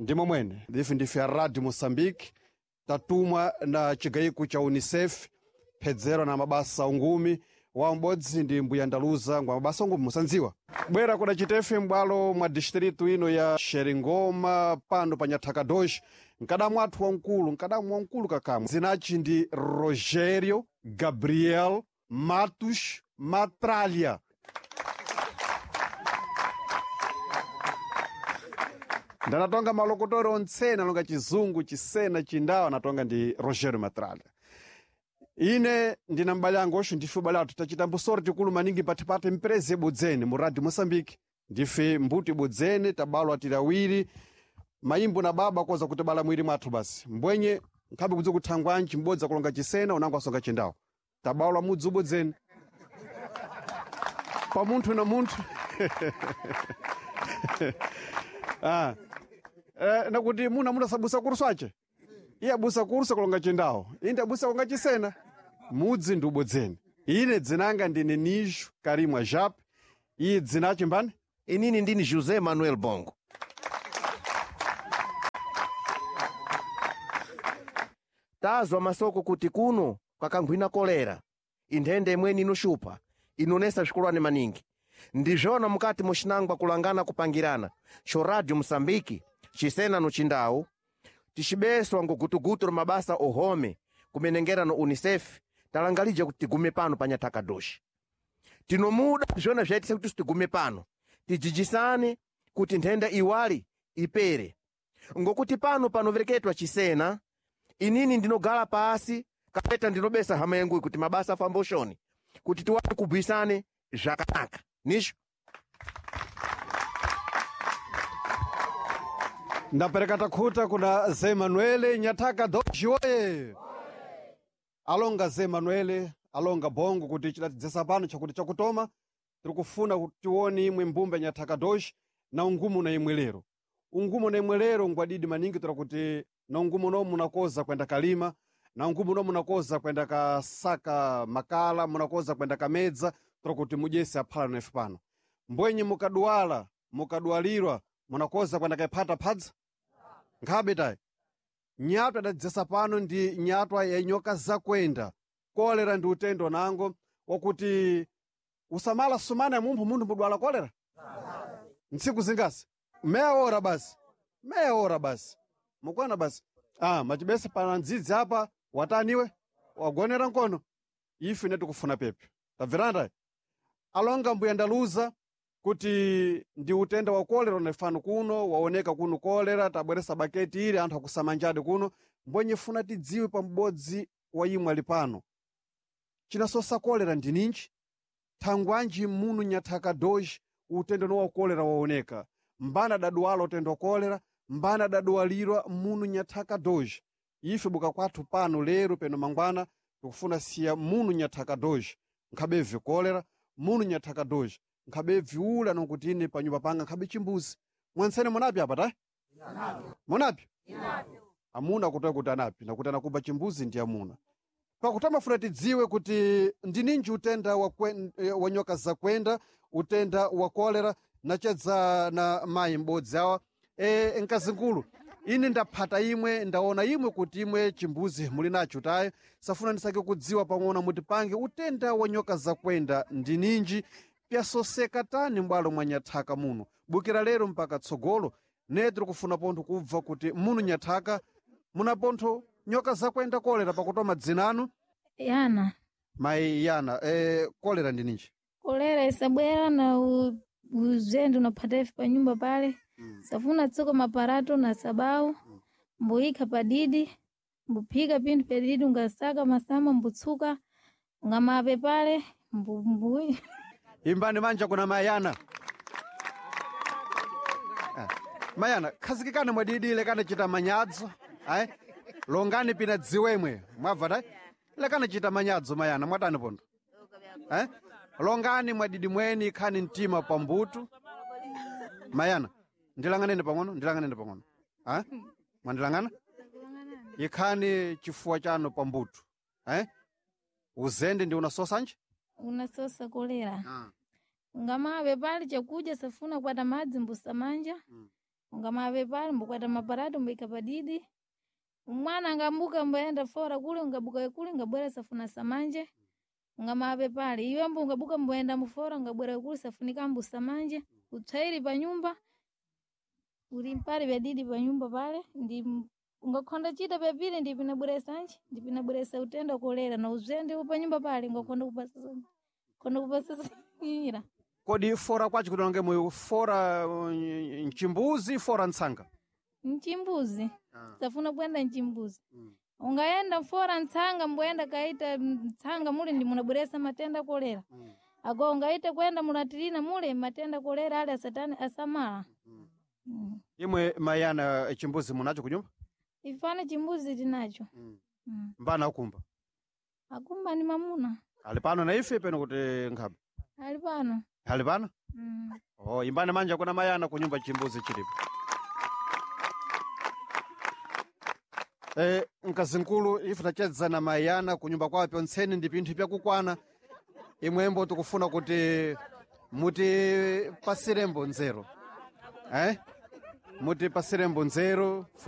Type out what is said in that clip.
Ndimo mwene ife ndife a Radio Moçambique tatumwa na chigayiko cha UNICEF phedzero na mabasa ungumi wa m'bodzi ndi mbuya Ndaluza ngwa mabasa ungumi musandziwa bwera kuda chitefe m'bwalo mwa distritu ino ya Xeringoma pano pa Nyathaka 2 mkadamu athu wamkulu mkadamu wamkulu kakamwe zinachi ndi Rogério Gabriel Matos Matralia. Ndanatonga malokotori ontsene alonga chizungu chisena chindawa anatonga ndi Rogério Matralia. Ine ndina m'bale angu oxo ndife ubale athu tachita mbusoro tikulu maningi pathipathe mprezi ibudzene mu Radio Moçambique. Ndife mbuto ibudzene tabalwa tili awiri mayimbo na baba koza kutibala mwiri mwathu basi mbwenye nkhabe kudzi kuthangwanji m'bodzi akulonga chisena unango asonga chindawa tabalwa mudzi ubudzene pa munthu na munthu. Ah. Nakuti muna munasabusa kurso ache iye abusa kurso kulonga chindawo inde abusa kulonga chisena mudzi ndi ubodzeni. Ine dzinanga ndine Nijo Karimwa Jap iye dzinache mbani. Inini ndini José Manuel Bongo. Tazwa masoko kuti kuno kwakankhwina kolera inthenda imweni inoxupha inonesa swikolwane maningi. Ndizvona mukati muxinangwa kulangana kupangirana xo Radio Moçambique xisena no cindau tixibeswa ngugutugutu ro mabasa ohome kumenengera no UNICEF talangalija kuti tigume pano pa Nyathaka 2. Tinomuda zvona zvaitisa kuti tigume pano tijijisane kuti nthenda iwali ipere, ngokuti pano panovereketwa chisena inini ndinogala pasi kapeta ndinobesa hama yangu kuti mabasa afambe uxoni kuti tiwane kubhuisane zvakanaka nisho. Ndapereka takhuta kuna Zé Manuele Nyathaka 2 woye. Alonga Zé Manuele alonga bongo kuti chidatidzesa pano chakuti chakutoma tiri kufuna kuti tione imwe mbumba ya Nyathaka 2 na ungumu na imwe lero. Ungumu na imwe lero ngwadidi maningi tora kuti na ungumu no munakoza kwenda kalima na ungumu no munakoza kwenda kasaka makala munakoza kwenda kamedza tora kuti mudyese aphala nefe pano. Mbwenye mukaduwala mukaduwalirwa munakoza kwenda kayiphata phadza nkhabe tayi. Nyatwa adadzesa pano ndi nyatwa ya nyoka zakwenda. Kolera ndi utendo nango wakuti usamala sumana ya munthu munthu mudwala kolera ntsiku zingasi meya ora basi meya ora basi mukwana basi. Ah, machibesa pana ndzidzi apa wataniwe wagonera nkono ife ine tikufuna pepe tabverana. Alonga mbuya Ndaluza kuti ndi utenda wa kolera unefano kuno waoneka kuno kolera tabweresa baketi ili anthu akusamanjadi kuno mbwenye funa tidziwe pa m'bodzi wa imwe ali pano chinasosa kolera ndi ninji thangwanji munu Nyathaka 2 utendo no wa kolera waoneka mbana daduwala utendo wa kolera mbana daduwalirwa munu Nyathaka 2. Ife buka kwathu pano lero peno mangwana tikufuna siya munu Nyathaka 2 nkhabe kolera munu Nyathaka 2 nkhabe viula nokuti ine panyumba panga nkhabe chimbuzi. Mwansene munapi apa ta munapi amuna kutoya kuti anapi nakuti anakuba chimbuzi ndi amuna. Pakuti tidziwe kuti ndi ninji utenda wa nyoka zakwenda utenda wa kolera nachedza na mayi m'bodzi awa. Mkazingulu ine ndaphata imwe ndaona imwe kuti imwe chimbuzi muli nacho tayo safuna ndisake kudziwa pang'ono mutipange utenda wa nyoka zakwenda ndi ninji pyasoseka tani m'bwalo mwa Nyathaka muno bukira lero mpaka tsogolo ne tiri kufuna pontho kubva kuti muno Nyathaka muna pontho nyoka zakwenda kolera pakutoma dzinanu. Yana. Mayi Yana, kolera ndi ninji? Kolera isabwera na uzende unaphata ife panyumba pale. Safuna tsoka maparato na sabau mbuyikha padidi mbuphika pinthu padidi ungasaka masamba mbutsuka ungamape pale mbuyi. Imbani manja kuna Mayana. Ah, Mayana khazikikani mwadidi lekani chita manyadzo ayi longani pina dziwemwe mwabva tayi lekani chita manyadzo Mayana mwatani pondo eh? Longani mwadidi mweni khani mtima pambutu. Mayana ndilang'aneni pang'ono ndilang'aneni pang'ono. Ah? Mwandilang'ana ikhani chifuwa chanu pambutu eh? Uzende ndi unasosa nje Unasosa kolera. Ungamape pale chakudya safuna kwata madzi mbusamanja. Ungamave pale mbukwata maparato mbuika padidi. Mwana angambuka mbayenda fora kule ungabuka kule ngabwera safuna samanje. Ungamave pale iwe mbu ungabuka mbayenda mufora ngabwera kule safunika mbu samanje. Utsairi pa nyumba uli mpale vyadidi pa nyumba pale ndi ungakhonda chita pyapili ndi pinabweresa nchi ndi pinabweresa utenda kolera na uzende pa nyumba pale ungakhonda kupasa khonda kupasa nyira. Kodi fora kwacho kuti wange moyo fora mchimbuzi fora ntsanga? Mchimbuzi safuna kwenda mchimbuzi. Ungaenda mfora ntsanga mbwenda kaita ntsanga mule ndi munabweresa matenda kolera. Ago ungaita kwenda mulatirina mule matenda kolera ale asatani asamala. Imwe mayana chimbuzi munacho kunyumba? Ifana chimbuzi tinacho. Mbana akumba? Akumba ni mamuna. Ali pano na ife peno kuti nkhabe? Ali pano. Ali pano? Oh, imbani manja kuna mayana kunyumba chimbuzi chilipo. Mkazinkulu ife tachedza na mayana kunyumba kwawo pyontseni ndi pinthu pyakukwana. Imwembo tikufuna kuti mutipasirembo nzeru. Eh? Mutipasirembo nzeru.